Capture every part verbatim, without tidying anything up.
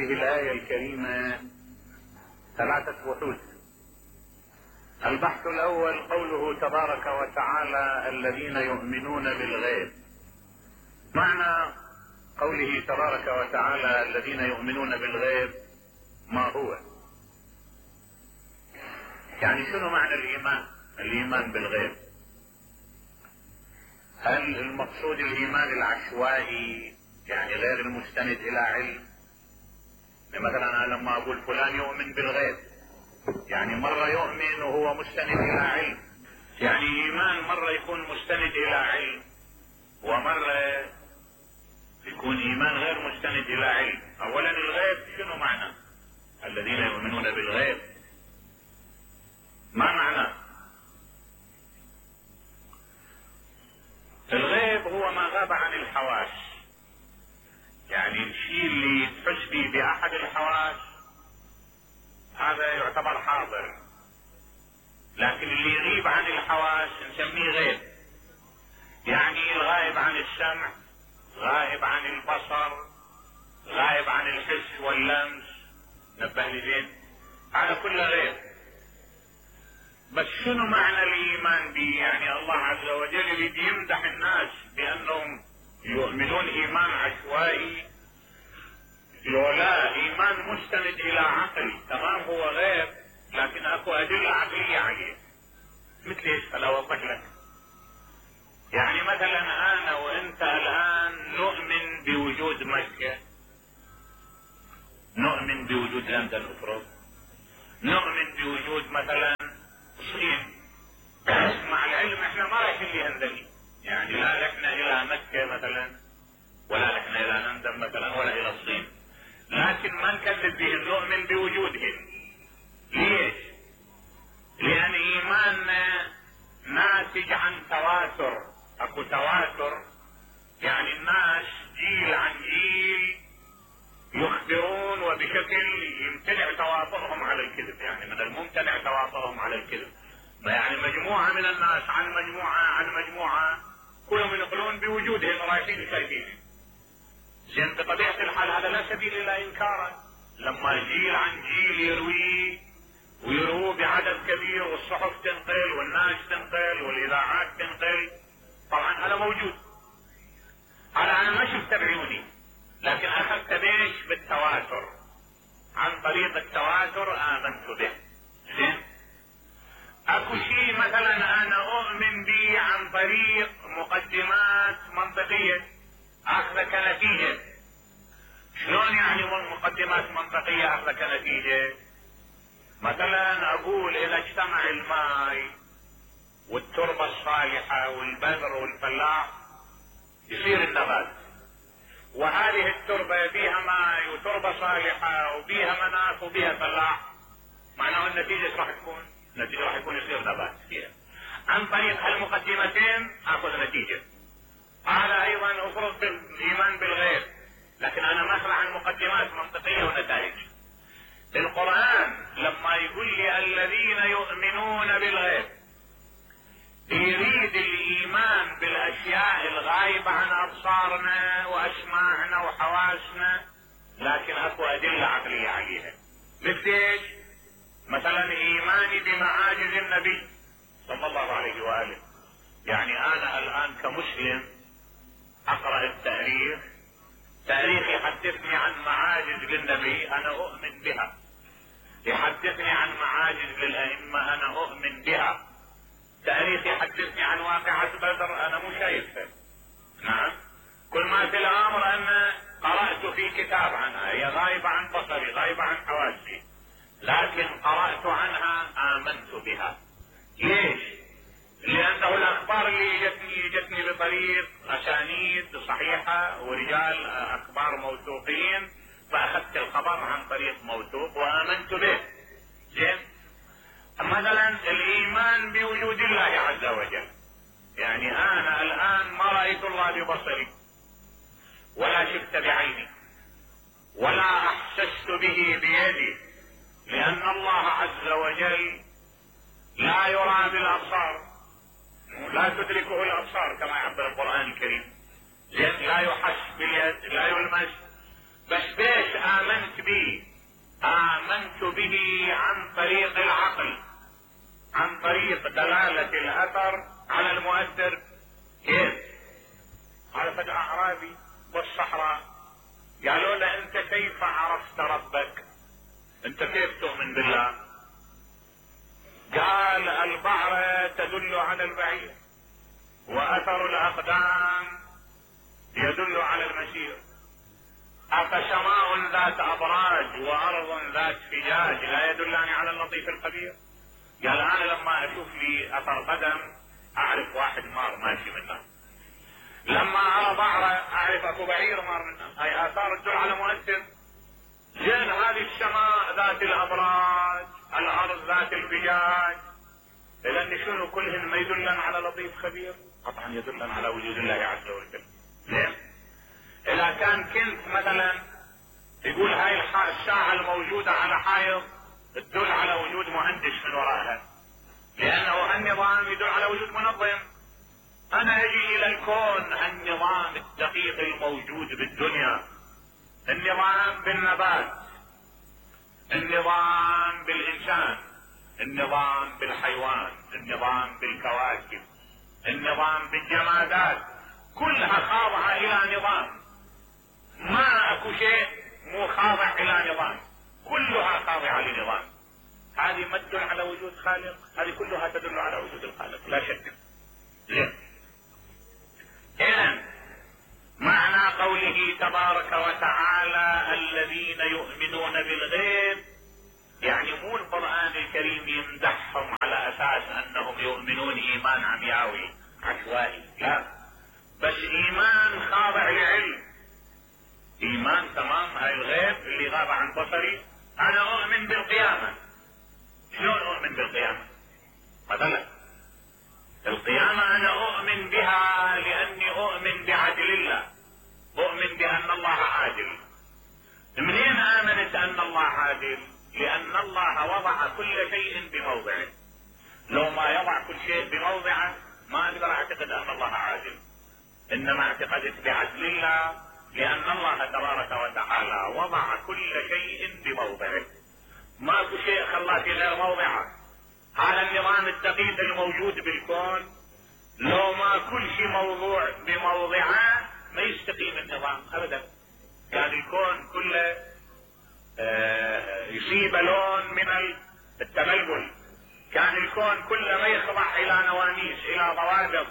هذه الآية الكريمة ثلاثة بحوث. البحث الأول قوله تبارك وتعالى الذين يؤمنون بالغيب. معنى قوله تبارك وتعالى الذين يؤمنون بالغيب ما هو؟ يعني شنو معنى الإيمان؟ الإيمان بالغيب، هل المقصود الإيمان العشوائي يعني غير المستند إلى علم؟ مثلا أنا لما أقول فلان يؤمن بالغيب يعني مرة يؤمن وهو مستند إلى علم، يعني إيمان مرة يكون مستند إلى علم ومرة يكون إيمان غير مستند إلى علم. أولا الغيب شنو معنى؟ الذين يؤمنون بالغيب ما معنى؟ الغيب هو ما غاب عن الحواس، يعني الشيء اللي تحس به بأحد الحواس هذا يعتبر حاضر، لكن اللي يغيب عن الحواس نسميه غيب. يعني الغائب عن السمع، غائب عن البصر، غائب عن الحس واللمس، نبه لي زين، هذا كله غيب. بس شنو معنى الايمان به؟ يعني الله عز وجل يريد يمدح الناس بانهم يؤمنون ايمان عشوائي، لا ايمان مستند الى عقل، تمام هو غيب لكن اكو ادله عقليه عليه. مثل ايش؟ خل اوضح لك. يعني مثلا انا وانت الان نؤمن بوجود مكه، نؤمن بوجود لندن افرض، نؤمن بوجود مثلا الصين، مع العلم احنا ما رايحين لهندني، يعني لا رحنا الى مكه مثلا ولا رحنا الى لندن مثلا ولا الى الصين، لكن ما نكذب بهم، نؤمن بوجودهم. ليش؟ لان ايماننا ناتج عن تواتر، اكو تواتر، يعني الناس جيل عن جيل يخبرون وبشكل يمتنع توافرهم على الكذب، يعني من الممتنع توافرهم على الكذب. يعني مجموعة من الناس عن مجموعة عن مجموعة كلهم ينقلون بوجودهم رايحين شايفين. زين بطبيعة الحال هذا لا سبيل إلى إنكاره، لما جيل عن جيل يروي ويروه بعدد كبير والصحف تنقل والناس تنقل والإذاعات تنقل، طبعا هذا موجود، هذا أنا ما شفت بعيوني لكن أخذت بيش بالتواتر، عن طريق التواتر آمنت به. زين اكو شيء مثلا انا اؤمن به عن طريق مقدمات منطقية اخذ كنتيجة. شلون يعني مقدمات منطقية اخذ كنتيجة؟ مثلا اقول اذا اجتمع الماء والتربة الصالحة والبذر والفلاح يصير النبات، وهذه التربة بيها ماء وتربة صالحة وبيها مناخ وبيها فلاح، معناه النتيجة راح تكون النتيجة راح يكون يصير نبات فيها. عن طريق هالمقدمتين اخذ نتيجة. هذا ايضا افرض بالايمان بالغيب، لكن انا ماخذ عن مقدمات منطقية ونتائج. القرآن لما يقول لي الذين يؤمنون بالغيب يريد الايمان بالاشياء الغايبة عن ابصارنا واسماعنا وحواسنا، لكن اكو ادلة عقلية عليها. مثل ايش؟ مثلا ايماني بمعاجز النبي صلى الله عليه وآله، يعني انا الان كمسلم اقرأ التاريخ، تاريخ يحدثني عن معاجز للنبي انا اؤمن بها، يحدثني عن معاجز للائمة انا اؤمن بها، تاريخ يحدثني عن واقعة بدر انا مو شايفها. نعم، كل ما في الامر ان قرأت في كتاب عنها، هي غايبة عن بصري غايبة عن حواسي، لكن قرأت عنها آمنت بها. ليش؟ لأنه الأخبار اللي جتني جتني بطريق أسانيد صحيحة ورجال أخبار موثوقين، فأخذت الخبر عن طريق موثوق وآمنت به. زين؟ مثلا الإيمان بوجود الله عز وجل، يعني أنا الآن ما رأيت الله ببصري ولا شفت بعيني ولا أحسست به بيدي، لأن الله عز وجل لا يرى بالأبصار، لا تدركه الأبصار كما يعبر القرآن الكريم، لا يحس باليد لا يلمس. بس بيش آمنت به؟ به عن طريق العقل، عن طريق دلالة الاثر على المؤثر. كيف؟ على فجأة اعرابي والصحراء قالوا له انت كيف عرفت ربك؟ انت كيف تؤمن بالله؟ قال البعرة تدل على البعير، واثر الاقدام يدل على المسير. افسماء ذات ابراج وارض ذات فجاج لا يدلان على اللطيف الخبير؟ قال انا لما اشوف لي اثر قدم اعرف واحد مار ماشي منه، لما ارى بعرة اعرف اكو بعير مار منه. هاي اثار تدل على مؤثر. زين هذه السماء ذات الابراج، الارض ذات الفجاج، لان شنو كلهن ما يدلن على لطيف خبير؟ قطعا يدلن على وجود الله عز وجل. زين اذا كان كنت مثلا يقول هاي الساعة الموجودة على حائط تدل على وجود مهندس من وراءها، لانه النظام يدل على وجود منظم. انا اجي الى الكون، النظام الدقيق الموجود بالدنيا، النظام بالنبات، النظام بالانسان، النظام بالحيوان، النظام بالكواكب، النظام بالجمادات، كلها خاضعة الى نظام. ما اكو شيء مو خاضع الى نظام، كلها خاضعة لنظام. هذه ما تدل على وجود خالق، هذه كلها تدل على وجود الخالق لا شك. ليه؟ اذن معنى قوله تبارك وتعالى الذين يؤمنون بالغيب، يعني مو القرآن الكريم يمدحهم على اساس انهم يؤمنون ايمان عمياوي عشوائي، لا، بس ايمان خاضع لعلم، ايمان تمام. هاي الغيب اللي غاب عن بصري، انا اؤمن بالقيامة. شلون اؤمن بالقيامة؟ مثلا القيامة انا اؤمن بها لاني اؤمن بعدل الله، اؤمن بان الله عادل. منين امنت ان الله عادل؟ لان الله وضع كل شيء بموضعه. لو ما يضع كل شيء بموضعه ما اقدر اعتقد ان الله عادل، انما اعتقدت بعدل الله، لان الله تبارك وتعالى وضع كل شيء بموضعه، ماكو شيء خلاه في غير موضعه. هذا النظام الدقيق الموجود بالكون لو ما كل شيء موضوع بموضعه ما يستقيم النظام ابدا. كان الكون كله آه يصيب لون من التبلبل، كان الكون كله ما يخضع الى نواميس الى ضوابط.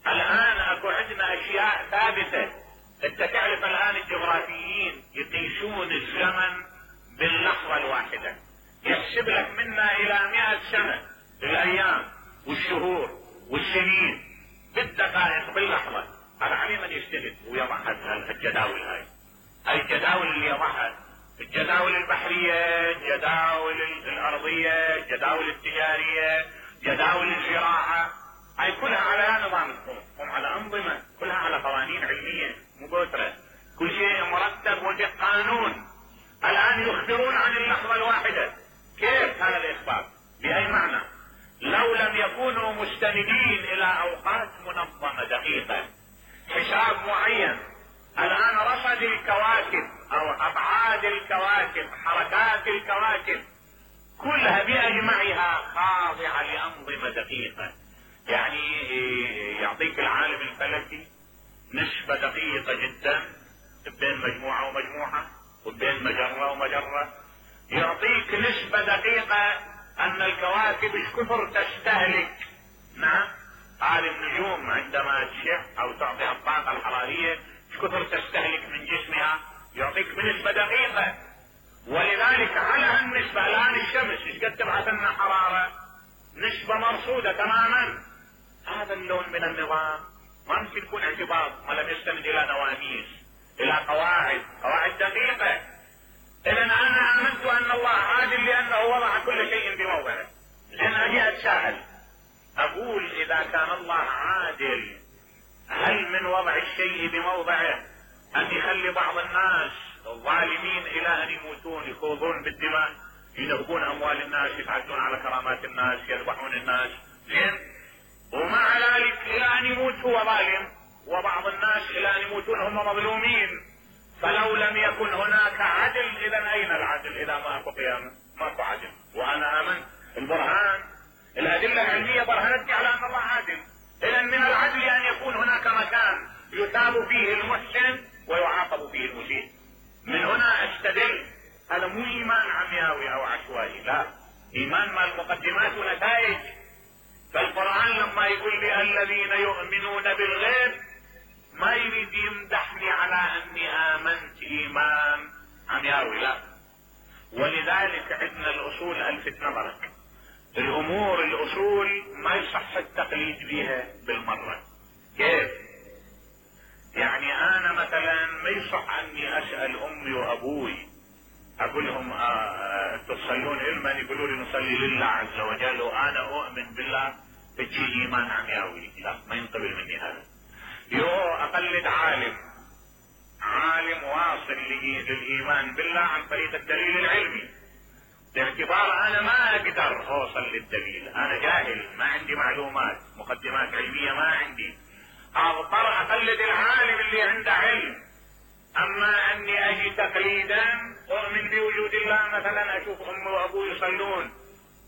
الان اكو عندنا اشياء ثابته. انت تعرف الان الجغرافيين يقيسون الزمن باللحظة الواحدة، يحسب لك منا الى مئة سنة الايام والشهور والسنين بالدقائق باللحظة. هذا عليه من يجتهد ويضع الجداول. هاي هاي الجداول اللي يضعها، الجداول البحرية، الجداول الارضية، الجداول التجارية، جداول الزراعة، هاي كلها على نظام الكون، هم على انظمة، كلها على قوانين علمية مباشرة، كل شيء مرتب وبقانون. الان يخبرون عن اللحظة الواحدة. كيف هذا الاخبار؟ باي معنى؟ لو لم يكونوا مستندين الى اوقات منظمة دقيقة، حساب معين. الان رصد الكواكب او ابعاد الكواكب، حركات الكواكب كلها باجمعها خاضعة لانظمة دقيقة. يعني يعطيك العالم الفلكي نسبة دقيقة جدا بين مجموعة ومجموعة وبين مجرة ومجرة، يعطيك نسبة دقيقة ان الكواكب ايش كثر تستهلك. نعم، هذه النجوم عندما تشع او تعطي الطاقة الحرارية ايش كثر تستهلك من جسمها، يعطيك بنسبة دقيقة. ولذلك على النسبة الان الشمس ايش قد تبعث لنا حرارة، نسبة مرصودة تماما. هذا اللون من النظام ما ممكن يكون اعتباط ما لم يستند الى نواميس، الى قواعد، قواعد دقيقة. اذا انا امنت ان الله عادل لانه وضع كل شيء بموضعه. لان اجي اتساءل اقول اذا كان الله عادل، هل من وضع الشيء بموضعه ان يخلي بعض الناس الظالمين الى ان يموتون، يخوضون بالدماء، ينهبون اموال الناس، يتعدون على كرامات الناس، يذبحون الناس، زين، ومع ذلك الى ان يموت هو ظالم، وبعض الناس الى ان يموتون هم مظلومين. فلو لم يكن هناك عدل اذا اين العدل؟ اذا ماكو قيامة ماكو عدل. وانا امنت البرهان الادلة العلمية برهنتني على ان الله عادل. اذا من العدل ان يكون هناك مكان يثاب فيه المحسن ويعاقب فيه المسيء. من هنا استدل هذا مو ايمان عمياوي او عشوائي، لا، ايمان مال مقدمات ونتائج. فالقرآن لما يقول لي الذين يؤمنون بالغيب ما يريد يمدحني على اني امنت ايمان عمياوي، لا. ولذلك عندنا الاصول الفت نظرك، الامور الاصول ما يصح التقليد بها بالمرة. كيف؟ يعني انا مثلا ما يصح اني اسأل امي وابوي اقول لهم آه تصلون علما، يقولوا لي نصلي لله عز وجل وانا اؤمن بالله، بتجي ايمان عمياوي، لا، ما ينقبل مني هذا. يو اقلد عالم عالم واصل للايمان بالله عن طريق الدليل العلمي، باعتبار انا ما اقدر اوصل للدليل، انا جاهل ما عندي معلومات مقدمات علمية ما عندي، اضطر اقلد العالم اللي عنده علم. اما اني اجي تقليدا اؤمن بوجود الله، مثلا اشوف امي وابوي يصلون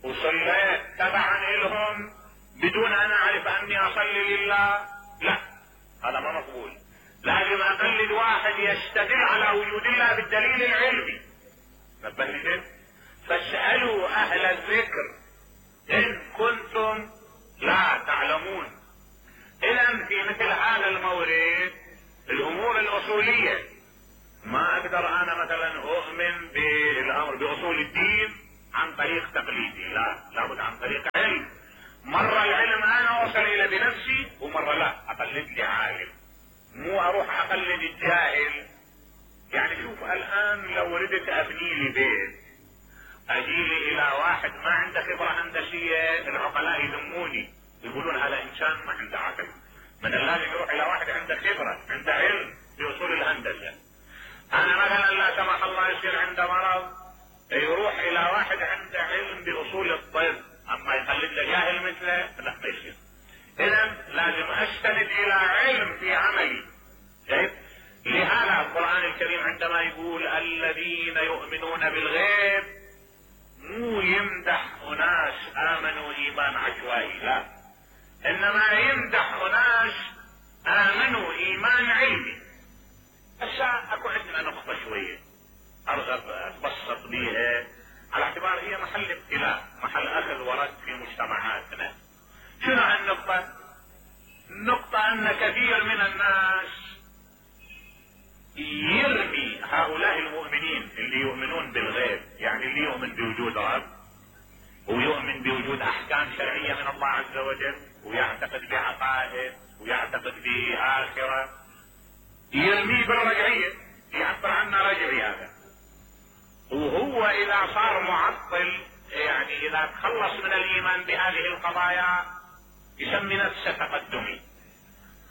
وصليت تبعا لهم بدون ان اعرف اني اصلي لله، لا، هذا ما مقبول. لازم اقلد واحد يستدل على وجود الله بالدليل العلمي. نبهت؟ فاسألوا اهل الذكر ان كنتم لا تعلمون. اذا في مثل هذا المورد الامور الاصولية ما اقدر انا مثلا اؤمن بالامر باصول الدين عن طريق تقليدي، لا، لابد عن طريق علم. مرة العلم انا اوصل الى بنفسي ومرة لا، اقلد لي عالم، مو اروح اقلد الجاهل. يعني شوف الان لو ردت ابني لي بيت اجي لي الى واحد ما عنده خبرة هندسية، العقلاء يذموني يقولون هذا انسان ما عنده عقل. من اللازم يروح الى واحد عنده خبرة عنده علم باصول الهندسة. انا مثلا لا سمح الله يصير عنده مرض يروح الى واحد عنده علم باصول الطب، اما يقلد له جاهل مثله لا، ما يصير. اذا لازم استند الى علم في عملي. طيب لهذا القرآن الكريم عندما يقول الذين يؤمنون بالغيب مو يمدح اناس امنوا ايمان عشوائي، لا، انما يمدح اناس امنوا ايمان علمي. هسه اكو عندنا نقطة شوية ارغب اتبسط بيها على اعتبار هي محل ابتلاء، محل اخذ ورد في مجتمعاتنا. شنو هالنقطة؟ النقطة ان كثير من الناس يرمي هؤلاء المؤمنين اللي يؤمنون بالغيب، يعني اللي يؤمن بوجود رب ويؤمن بوجود احكام شرعية من الله عز وجل ويعتقد بعقائد ويعتقد بآخرة، يرميه بالرجعية، يعبر عنه رجعي هذا. وهو اذا صار معطل، يعني اذا تخلص من الايمان بهذه القضايا يسمي نفسه تقدمي.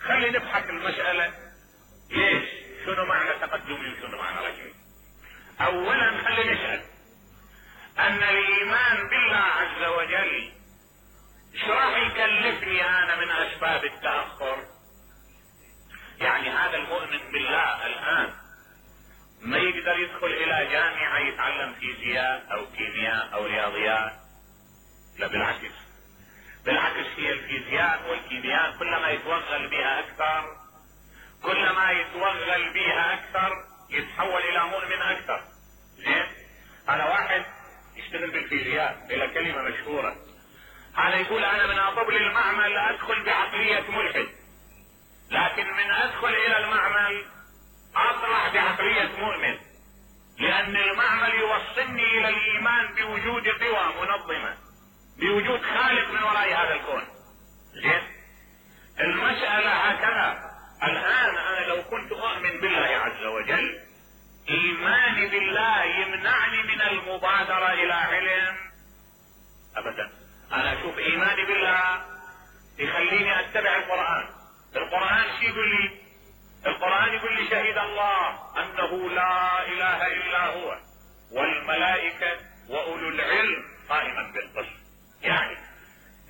خلي نبحث المسألة ليش، شنو معنى تقدمي وشنو معنى رجعي. اولا خلي نسأل ان الايمان بالله عز وجل ايش راح يكلفني انا من اسباب التأخر؟ يعني هذا المؤمن بالله الان ما يقدر يدخل الى جامعة يتعلم فيزياء او كيمياء او رياضيات، لا بالعكس، بالعكس هي الفيزياء والكيمياء كلما يتوغل بها اكثر كلما يتوغل بها اكثر يتحول الى مؤمن اكثر. زين، هذا واحد يشتغل بالفيزياء الى كلمة مشهورة، هذا يقول انا من اطب للمعمل ادخل بعقلية ملحد، لكن من ادخل الى المعمل اطلع بعقلية مؤمن، لان المعمل يوصلني الى الايمان بوجود قوى منظمة، بوجود خالق من وراء هذا الكون. زين، المسألة هكذا. الان انا لو كنت اؤمن بالله عز وجل ايماني بالله يمنعني من المبادرة الى علم ابدا. انا اشوف ايماني بالله يخليني اتبع القرآن. القرآن شو يقول لي؟ القرآن يقول لي شهد الله انه لا اله الا هو والملائكة واولو العلم قائما بالقسط. يعني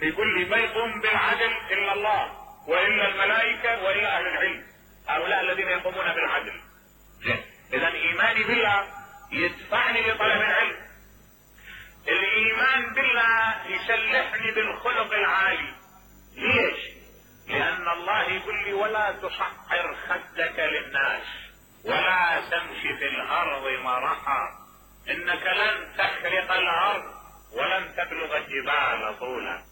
يقول لي ما يقوم بالعدل الا الله والا الملائكة والا اهل العلم، هؤلاء الذين يقومون بالعدل. ايماني بالله يدفعني لطلب العلم. الايمان بالله يسلحني بالخلق العالي. ليش؟ لان الله يقول لي ولا تصعر خدك للناس ولا تمشي في الارض مرحا انك لن تخرق الارض ولن تبلغ الجبال طولا.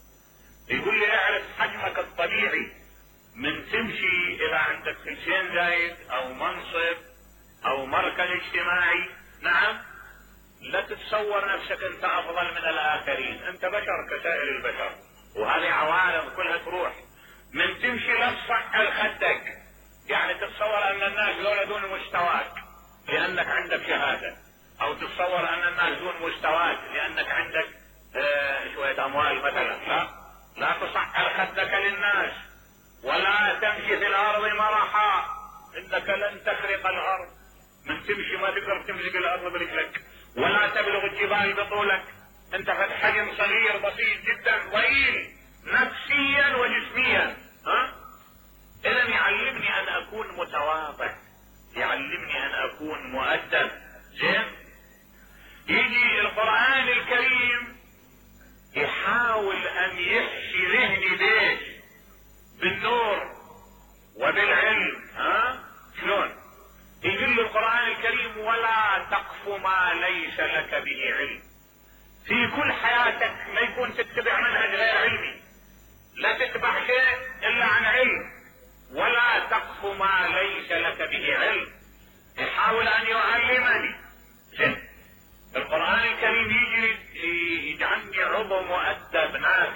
يقول لي اعرف حجمك الطبيعي، من تمشي الى عندك خلشين زايد او منصب او مركز اجتماعي، نعم، لا تتصور نفسك انت افضل من الاخرين، انت بشر كسائر البشر، وهذه عوارض كلها تروح. من تمشي لا تصعر خدك، يعني تتصور ان الناس دول دون مستواك لانك عندك شهاده، او تتصور ان الناس دون مستواك لانك عندك آه شويه اموال مثلا. لا، لا تصعر خدك للناس ولا تمشي في الارض مرحا انك لن تخرق الارض. من تمشي ما تقدر تمسك الارض برجلك ولا تبلغ الجبال بطولك، انت في حجم صغير بسيط جدا ضئيل نفسيا وجسميا. ها؟ اذا يعلمني ان اكون متواضع، يعلمني ان اكون مؤدب. زين؟ يجي القرآن الكريم يحاول ان يحشي ذهني ليش؟ بالنور وبالعلم. ها؟ شلون؟ يقول القرآن الكريم ولا تقف ما ليس لك به علم. في كل حياتك ما يكون تتبع منهج غير علمي، لا تتبع شيء الا عن علم. ولا تقف ما ليس لك به علم، يحاول ان يعلمني. القرآن الكريم يجي يجعلني عضو مؤدب نافع